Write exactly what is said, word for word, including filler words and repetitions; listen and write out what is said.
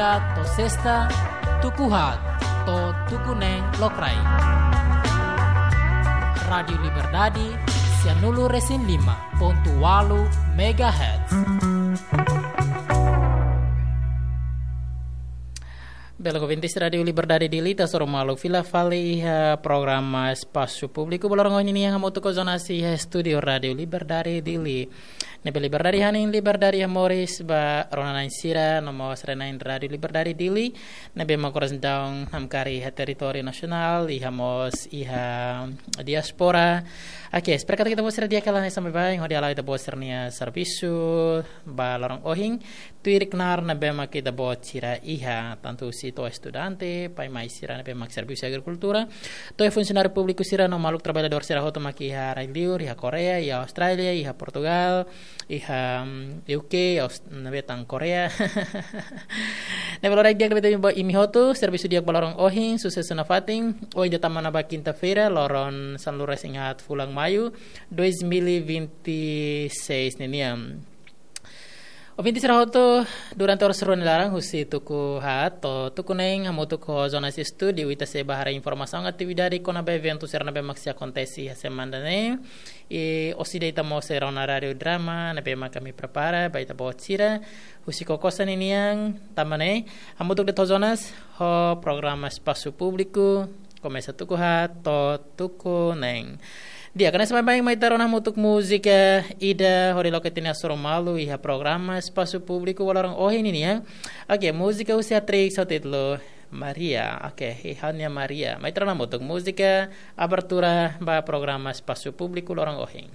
To'o sesta, tuku haat to'o tuku neen lokraik. Rádiu Liberdade, sia nulu resin lima pontu ualu megahertz. Belun ouvintes Rádiu Liberdade Dili, ita hasoru malu fila fali iha programa Espasu Públiku ba loron ohin nian, hamutuk ho Jonas iha estúdiu Rádiu Liberdade Dili. Ne'ebé liberdade hanesan liberdade iha moris ba rona-na'in sira no mós renain Rádiu Liberdade Dili, ne'ebé mak oras ne'e daudaun namkari iha territóriu nasionál, iha mós iha diáspora. Oke, espera katak ita-boot sira di'ak hela hanesan baibain, hodi hala'o ita-boot sira-nia servisu ba loron ohin, tuir knaar ne'ebé mak ita-boot sira iha, tantu husi to'o estudante, pai-mai sira ne'ebé mak servisu agrikultura, to'o funsionáriu públiku sira no maluk traballadór sira hotu mak iha rai-liur, iha Koreia, iha Austrália, iha Portugal, iha, mm, U K, Aus-, ne'ebé tan Koreia. Ne'ebé loraik di'ak ne'ebé temi ba imi hotu, servisu di'ak ba loron ohin, susesu nafatin, ohin ita tama ona ba kinta-feira, loron sanulu resin haat fulan Maiu, dois mil e vinte e seis ninian. Ouvintes sira hotu, durante oras rua nia laran, husi tuku haat to'o tuku neen, hamutuk ho Jonas estúdiu, ita sei bá haree informasaun atividade kona-ba eventu sira ne'ebé mak sei akontese iha semana ne'e. I orsida ita mós sei rona rádiu drama ne'ebé mak ami prepara ba ita-boot sira, husi Kokosa ninian tama ne'e, hamutuk de'it ho Jonas, ho programa Espasu Públiku, komesa tuku haat to'o tuku neen. Di'ak, hanesan baibain mai ita rona hamutuk múzika ida hodi loke ita-nia hasoru malu iha programa Espasu Públiku ba loron ohin nian. Oke, múzika husi Atrix ho títulu Maria. Oke, iha nia Maria. Mai ita rona hamutuk múzika abertura ba programa Espasu Públiku loron ohin.